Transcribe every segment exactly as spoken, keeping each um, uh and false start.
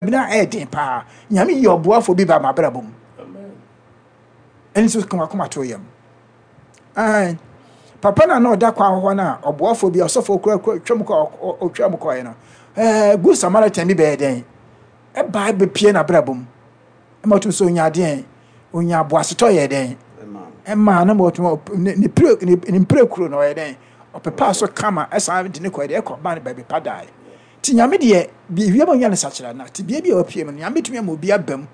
Bi na ɛyɛ den paa. Nyame yi ɔboafoɔ bi ba m'abrabɔ mu. Ɛno nso ka wakoma to yam. Ae. Papa no a na ɔda kwan hɔ no a ɔboafoɔ bi ɔsɔfoɔ kura kura twam kɔ ɔtwa mu kɔɛ no, ɛɛ Good Samaritan bi bɛyɛ dɛn? Ɛbaa bɛpie n'abrabɔ mu. Ɛma ɔtumi sɛ onya adeɛn, onya aboasetɔ yɛ dɛn? Ɛmaa no ma ɔtumi ne ne pire ne ne mpirekuro no ɔyɛ dɛn? Ɔpepaa so kama ɛsan de ne kɔɛ deɛ ɛkɔ ba no baabi pa daeɛ. Nti Nyame deɛ biribiara ma onya no sakyera na tebea bi a wapue mu no Nyame bɛtumi ama obi aba mu.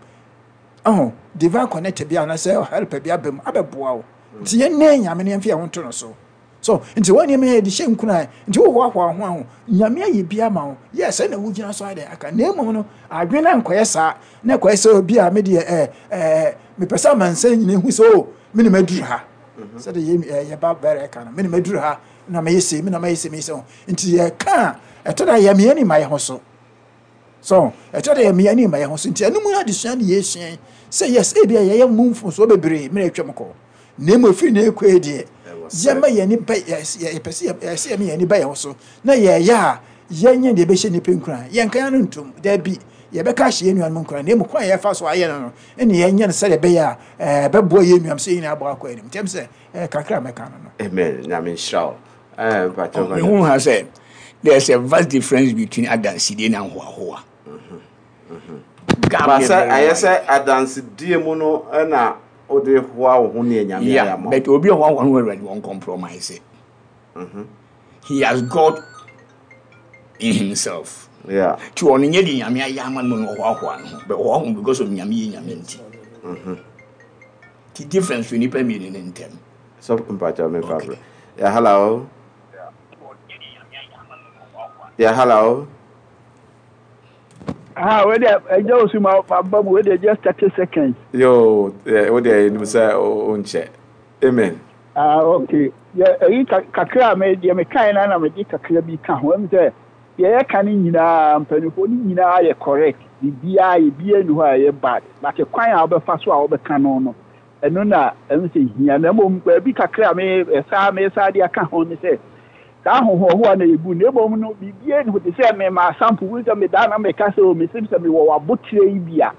Ɔho divine connector bi anaasɛ helper bi aba mu abɛboa wo. Nti yɛnnɛ Nyame no yɛmfa yɛn ho nto no so. So nti wɔn nneɛma yɛde hyɛ nkuran nti wohoahoa wo ho aho Nyame ayɛ bi ama wo. Yes, ɛna wogyina so ayɛ dɛn aka. Na mmom no adwene no ankɔyɛ saa na ɛkɔyɛ sɛ obi a me deɛ ɛɛ ɛɛ mepɛ sɛ amansan nyina hu sɛ o me na maduru ha. Sɛdeɛ yɛ yɛba bɛrɛ ɛka no me na maduru ha na mɛyɛ sei me na mɛyɛ sei mɛyɛ sei. Nti yɛka a ɛtɔ da yɛ mmea ni ma yɛ ho so. So ɛtɔ da yɛ mmea ni ma yɛ ho so. Nti ɛno mu adesua ne yɛsua yi sɛ yes ebi a yɛyɛ mu mfomsoɔ bebree mmerɛ atwam kɔ. Na mmom efiri na ekɔ yi deɛ yɛma yɛn ani ba yɛpɛ sɛ yɛsɛ yɛma yɛn ani ba yɛn ho so na yɛyɛ a yɛnyɛ deɛ ɛbɛhyɛ nnipa nkuran. Yɛnka yɛn ano ntom daabi yɛbɛka ahyɛ yɛn nuanom nkuran na mmom kwan a yɛfa so ayɛ no no ɛne yɛnyɛ no sɛdeɛ ɛbɛyɛ a ɛbɛboa yɛn nuanom sɛ yɛn nyinaa abɔ akɔ anim. Nti sɛ ɛɛ kakra a mɛka no no. Amen. Nyame nhyira wo. Eh, mpakyɛ mehu ha sɛ there's a vast difference between adansidie ne ahoahoa. Ba sɛ ɛyɛ sɛ adansedie mu no ɛna wode hoa wo ho ne Nyame ayɛ Yeah, ama wo. but obi a ɔhoahoa ho Awurade wɔn compromise. He has God in himself. Yeah. Nti ɔno nyɛ de Nyame ayɛ ama no na ɔhoahoa no ho, but ɔhoahoa because of Nyame yɛ Nyame nti. Nti difference wɔ nipa mmienu ne ntam. So mpakyɛ me fa Okay. brɛ. Yeah, hello. Yeah, hello. Ah, wei deɛ ɛgya osu ma ma ba mu wei deɛ just thirty seconds. Yo, eh, wo deɛ nim sɛ wo nkyɛ. Amen. Ah, okay. Yɛ ɛyi kakra a me deɛ me kan na na me de kakra bi ka ho. Ɛmu sɛ deɛ yɛka no nyinaa mpanyinfoɔ no nyinaa yɛ correct. Biribiara yɛ bia ni hɔ a ɛyɛ bad. But kwan a wɔbɛfa so a wɔbɛka no no, ɛno na ɛmu sɛ hia. Na mmom baabi kakra a me ɛsaa me saa de aka ho ne sɛ saa ahohoahoa na yɛgu na mmom no biribiara ni hɔ te sɛ me ma sample wo sɛ medaa na meka sɛ o mesim sɛ mewɔ w'abotire yi bi a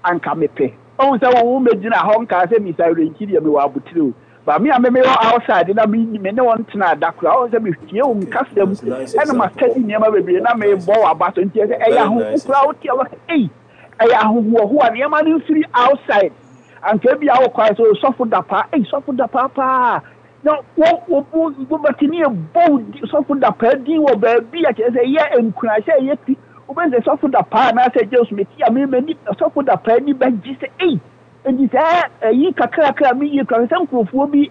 anka mepɛ ɔhu sɛ wo mɛgyina hɔ nkaa sɛ misa werɛnkyi deɛ mewɔ abotire o ba me a me mewɔ outside na me me ne wɔn tena da koraa ɔhu sɛ metie wo nkasɛm ɛna ma study nneɛma bebree na mebɔ w'aba so nti ɛsɛ ɛyɛ ahoho koraa wote a wɔka ei ɛyɛ ahohoahoa nneɛma no mfiri outside anka bi a wokɔɛ sɛ sɔfo da paa ei sɔfo da paa paa na wo wo wo wobɛte ne yɛbɔ wo di sɔfo da paa din wɔ baabi a kyerɛ sɛ ɛyɛ nkuranhyɛ ɛyɛ ti wobɛhu sɛ sɔfo da paa anaasɛ James meti a memani sɔfo da paa ni bɛgye sɛ ei nti sɛ ɛyi kakrakra meyie kora sɛ nkurɔfoɔ bi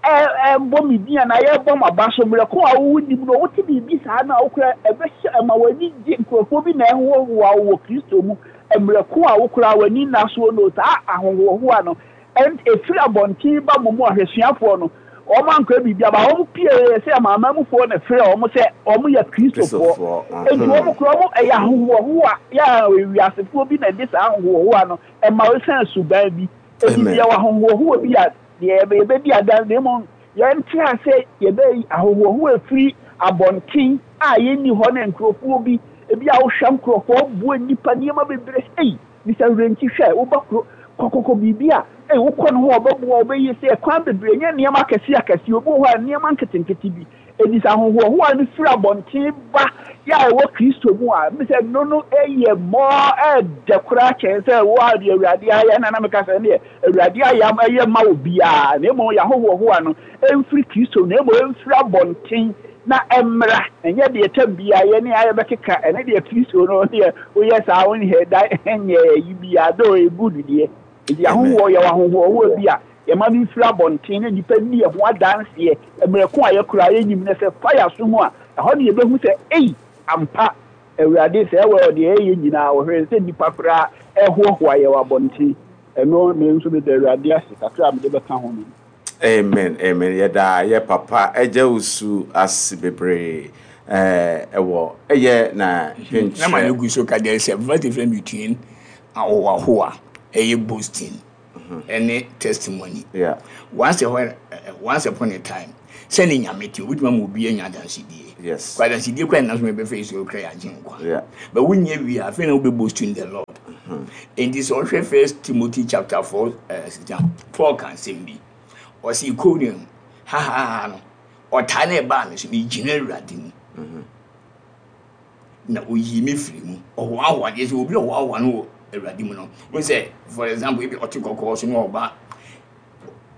ɛbɔ me din anaa yɛbɔ m'aba so mmerɛ ko a wowo nim no wote biribi saa na wokora ɛbɛhyɛ ɛma w'ani gye nkurɔfoɔ bi na ɛhoahoa wo wɔ Kristo mu mmerɛ ko a wokora w'ani nna soɔ no saa ahohoahoa no ɛfiri abɔnten ba mo mu ahwɛsuafoɔ no wɔn ankora biribi aba wɔn pie sɛ amaamamufoɔ na frɛ wɔn sɛ wɔn yɛ Kristofoɔ nti wɔn kora wɔn ɛyɛ ahohoahoa yɛ a ewiasefoɔ bi na ɛde saa ahohoahoa no ɛma wɔsan suban bi eti deɛ wɔ ahohoahoa bi a deɛ yɛbɛdi adan na emu yɛnte ase yɛbɛ ahohoahoa efiri abɔnten a yɛnni hɔ ne nkurɔfoɔ bi ebi a wohwɛ nkurɔfoɔ bue nipa nneɛma bebree ei bisa werɛnkyi hwɛ woba kuro kɔkɔkɔ biribi a ei wokɔ no hɔ ɔbɛboa ɔbɛyɛ sɛ kwan bebree nyɛ nneɛma akɛse akɛse obi wɔ hɔ a nneɛma nketenkete bi edi sɛ ahohoahoa no firi abɔnten ba yɛ a ɛwɔ Kristo mu a mi sɛ no no ɛyɛ mɔɔ ɛɛdɛ koraa kyɛn sɛ wo a deɛ Awurade ayɛ na na meka sɛ ɛneɛ Awurade ayɛ ɛyɛ ma wo biara na mmom yɛ ahohoahoa no ɛmfiri Kristo na mmom ɛmfiri abɔnten na ɛmmra ɛnyɛ deɛ tam biara yɛ ne ayɛ bɛkeka ɛne deɛ Kristo no deɛ woyɛ saa wonyɛ da ɛnyɛ ɛyi biara dɛ ɛgu deɛ nti ahohoɔ yɛwɔ ahohoahoa bi a yɛma no mfiri abɔnten na nnipa nni yɛn ho adanseɛ mmerɛ ko a yɛkora yɛnyim no sɛ fa yɛ aso mu a ɛhɔ ne yɛbɛhu sɛ ei ampa Awurade sɛ ɛwɔ deɛ ɛyɛ nyinaa wɔhwɛ sɛ nnipa koraa ɛhoahoa yɛ wɔ abɔnten ɛno me nso meda Awurade ase kakra a mede bɛka ho no. Amen, amen. Yɛda yɛ papa agya osu ase bebree ɛɛ ɛwɔ ɛyɛ na Na ma no gu so ka there is a vast difference between ahohoahoa ɛyɛ boasting ɛne testimony. Yeah. Once a while, uh, once upon a time sɛne Nyame te obɛtumi ama obi anya adansedie. Yes. Kwadansidie kwan na so mebɛfɛ Yesu okra yɛ agye nkwa. Yeah. But wonyɛ wie a, afei na wobɛboast in the Lord. Enti sɛ ɔhwɛ First Timothy chapter four uh, Paul ka nsɛm bi. Ɔse Iconium ha ha ha no, ɔtaa na ɛbaa me so, megyina Awurade mu. Na oyii me firi mu. Ɔhoahoa deɛ sɛ obi ɔhoahoa no wɔ Awurade mu no. Wo sɛ, for example, ebi ɔte kɔkɔɔ so na ɔba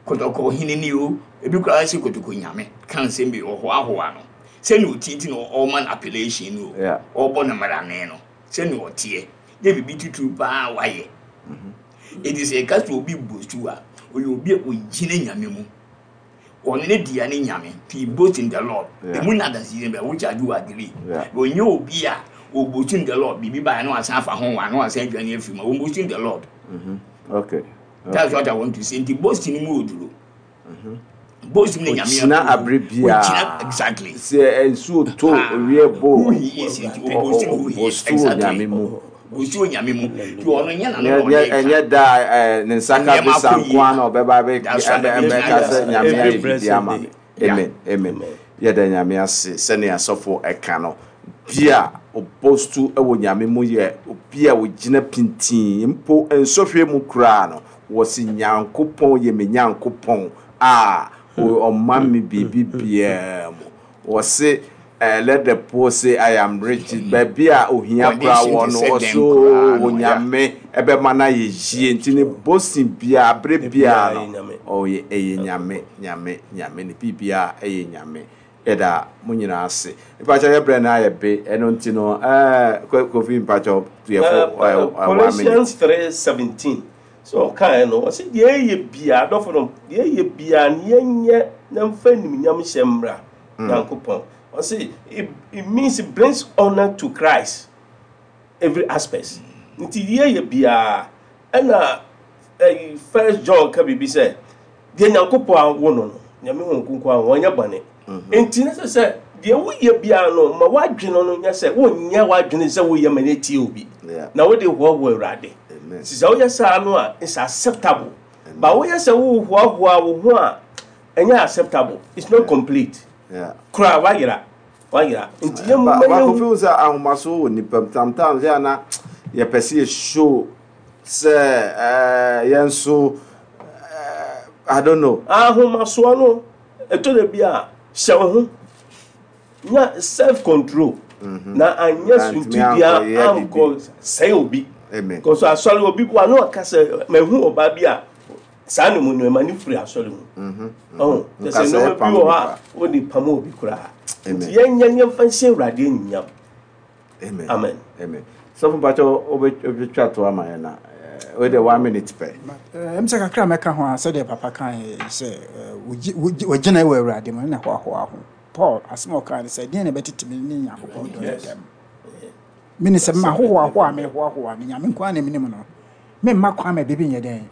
kɔtɔkɔ hene ni o, ebi koraa sɛ kɔtɔkɔ nyame ka nsɛm bi ɔhoahoa no. Sɛnea ɔtie nti na ɔma no appellation no Yeah. o, ɔbɔ no mmarane no, sɛnea ɔteɛ. Yɛ biribi titiri paa wayɛ. Enti sɛ yɛka sɛ obi boast a, ɔyɛ obi a ɔgyina Nyame mu. Ɔno ne dea ne Nyame. He boast in the Lord. Yeah. Emu na adansi bɛ, which I do agree. Yeah. Ɔnyɛ obi a ɔboast in the Lord. Biribi baa na wasan afa ho wa na wasan adwane afiri mu. Ɔboast in the Lord. Okay. That's what I want to say. Nti boasting mu oduro. Boasting ne Nyame Ogyina approve. abere biara. Ogyina exactly. Sɛ nsuo to owie bo. Who he is nti ɔboast who he is. Ɔboast wɔ Exactly. Nyame mu. Boast wɔ Nyame mu. Nti ɔno nyɛ n'ano na Nyɛ- ɔde nyɛ- ka. ɛnyɛ da a, eh, ne nsa ka Nneɛma bisa akɔ yie. nko ara na ɔbɛba abɛ- That's right. ɛbɛ- ɛbɛka sɛ Nyame Every ayɛ biribi blessed ama day. me. Amen. Amen. Yɛda Nyame ase sɛnea asɔfo ɛka no. Obi a ɔboast wɔ Nyame mu yɛ obi a ogyina pintin mpo nsɔhwɛ mu koraa no, wɔsi Nyankopɔn yɛ me Nyankopɔn a o- ɔma me biribi biara mu. Wɔsi eh, let the poor say I am rich. Baabi a ohia koraa Condition wɔ te no, sɛ ɔso dɛn koraa no, Onyame ɛbɛma no ayɛ yie. Nti ne boasting biara, abere biara Biara no, yɛ Nyame. ɔyɛ ɛyɛ Nyame, Nyame, Nyame. Ne biribiara ɛyɛ Nyame. Yɛda mo nyinaa ase. Mpakyɛ, yɛbrɛ no ayɛ be, ɛno nti no ɛɛ Kofi, mpakyɛ, yɛfo Uh, ɛɛ one minute. Colossians three seventeen. So ɔkae no, ɔsɛ deɛ ɛyɛ biara, adɔfo no, deɛ ɛyɛ biara no yɛnyɛ na mfa nimnyam hyɛ mmra Nyankopɔn. Ɔsɛ it, it means it brings honor to Christ every aspect. Nti deɛ ɛyɛ biara, ɛna ɛyi First John ka biribi sɛ deɛ Nyankopɔn awo no no, Nyame ho nkonko a wɔnyɛ bɔne. Nti ne sɛ sɛ deɛ woyɛ biara no, ma w'adwene no nyɛ sɛ wonyɛ w'adwene sɛ woyɛ ma no atie obi Yeah. na wode hoahoa Awurade. Amen. Nti sɛ woyɛ saa no a, it's acceptable, but woyɛ sɛ wohoahoa wo ho a, ɛnyɛ acceptable, it's not complete Yeah. koraa, wayera wayera. Nti yɛ Ba mma baako yɛhu fi sɛ ahomaso wɔ nipa mu. Sometimes yɛ ana yɛpɛ sɛ yɛ show sɛ ɛɛ yɛn nso ɛɛ I don't know. Ahomasoɔ no, ɛtɔ da bi a, hyɛ wo ho nya self control na anyɛ Na ntumi suntidua ankɔyɛ ankɔ sɛe obi. Amen. Kɔsɔ asɔre obi wa na ɔka sɛ mahu ɔbaa bi a saa ne mu nneɛma ne firi asɔre mu ɔho kyɛ sɛ Nkasa nneɛma bi pam wɔ hɔ nipa. a wode pam obi koraa. Amen. Nti yɛnyɛ nneɛmfa nhyɛ Awurade anyimnyam. Amen. Amen. Amen. Sɔfo, mpakyɛ, wobɛtwa to ama yɛn na ɛɛ wei de one minute pɛ. Ɛm sɛ kakra a mɛka ho a, sɛdeɛ papa kae sɛ eh, wogye- wogye- wagyina wɔ Awurade mu ne hoahoa ho. Paul asɛm a ɔkae ne sɛ, deɛn na ɛbɛtete me ne Nyankopɔn dɔ no ntam? Mene sɛ mahohoahoa a mehoahoa no, Nyame nko a na menim no, memma kwan ma biribi nyɛ dɛn.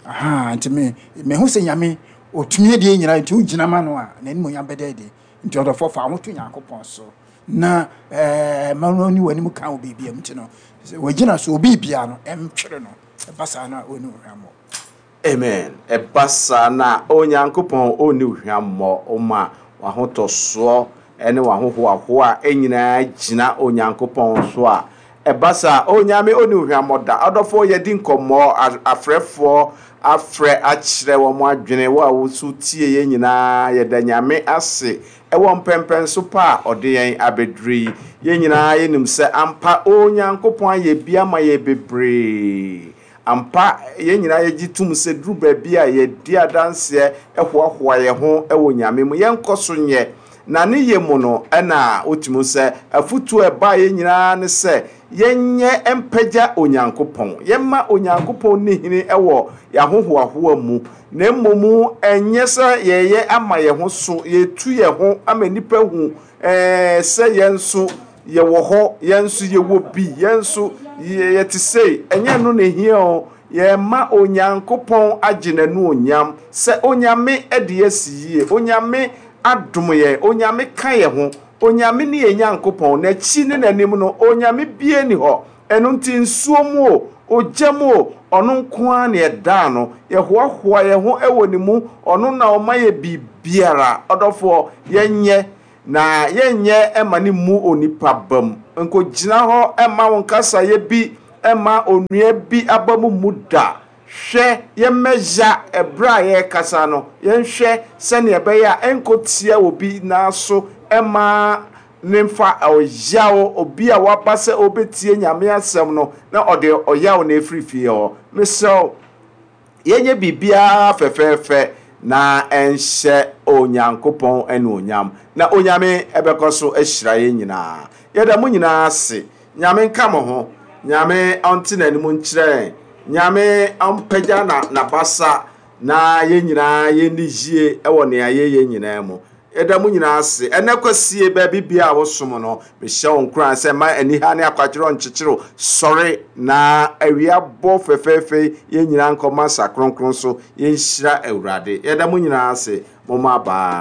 Aha, nti me mehu sɛ Nyame ɔtumi adeɛ nyinaa, nti wogyina ma no a, n'animonyam bɛda adi. Nti ɔdɔfoɔ, fa wo ho to Nyankopɔn so na ɛɛ ma no ne w'anim ka wo biribia mu. Nti no sɛ wagyina so obi bia no ɛntwere no, ɛba saa no a, ɔne wo hwammɔ. Amen. Ɛba saa na Onyankopɔn ɔnni wo hwammɔ. Ɔma w'ahotɔsoɔ ne w'ahohoahoa nyinaa gyina Onyankopɔn so a, ɛba saa Onyame ɔnni wo hwammɔ da. Ɔdɔfoɔ, yɛdi nkɔmmɔ, a- afrɛfoɔ afrɛ akyerɛ wɔn adwene. Wo a woso tie yɛn nyinaa, yɛda Nyame ase ɛwɔ mpɛmpɛnso pa a ɔde yɛn abɛduru yi. Yɛn nyinaa yɛnim sɛ ampa Onyankopɔn ayɛ bi ama yɛ bebree. Ampa, yɛn nyinaa yɛgye tom sɛ duru baabi a yɛdi adanseɛ ɛhoahoa yɛn ho ɛwɔ Nyame mu. Yɛnkɔ so nyɛ na ne yɛ mu no, ɛna wotumi sɛ afotuo a ɛbaa yɛn nyinaa ne sɛ yɛnyɛ mpagya Onyankopɔn, yɛmma Onyankopɔn ne hene ɛwɔ yɛahohoahoa mu, na mmom ɛnyɛ sɛ yɛyɛ ama yɛn ho so, yɛtu yɛn ho ama nnipa hu ɛɛ sɛ yɛn nso yɛwɔ hɔ, yɛn nso yɛwɔ bi, yɛn nso yɛ- yɛte sei. Ɛnyɛ no na ehia o. Yɛma Onyankopɔn agye n'anuonyam sɛ Onyame de asi yie, Onyame adom yɛn, Onyame ka yɛn ho, Onyame ne yɛn Nyankopɔn, n'akyi ne n'anim no Onyame bie ni hɔ. Ɛno nti nsuo mu o, ogya mu o, ɔno nko ara na yɛdaa no, yɛhoahoa yɛn ho wɔ ne mu. Ɔno na ɔma yɛ biribiara. Ɔdɔfoɔ, yɛnyɛ Na yɛnyɛ ma ne mu onipa bam. Nkɔgyina hɔ ma wo nkasayɛ bi ma onua bi aba mu mu da. Hwɛ, yɛmmɛya ɛberɛ a yɛrekasa no, yɛnhwɛ sɛnea ɛbɛyɛ a ɛnkɔtia obi nan so ma ne mfa ɔyaw, obi a waba sɛ ɔbɛtie Nyame asɛm no na ɔde ɔyaw na ɛfiri fie hɔ. Mesrɛ wo, yɛnyɛ biribiara fɛfɛɛfɛ na ɛnhyɛ Onyankopɔn anuonyam, na Onyame ɛbɛkɔ so ahyira yɛn nyinaa. Yɛda mo nyinaa ase. Nyame nka mo ho. Nyame ɔnte n'anim nkyerɛ yɛn. Nyame ɔmpagya na n'abasa na yɛn nyinaa yɛnni yie wɔ nea yɛyɛ nyinaa mu. Yɛda mo nyinaa ase. Ɛnɛ kwasie baabi bia a wosom no, mehyɛ wo nkuran sɛ ma aniha ne akwadwerɛ nkyekyere wo. Sɔre na awia bɔ fɛfɛɛfɛ, yɛn nyinaa nkɔma sa kronkron so, yɛnhyira Awurade. Yɛda mo nyinaa ase. Momma bye.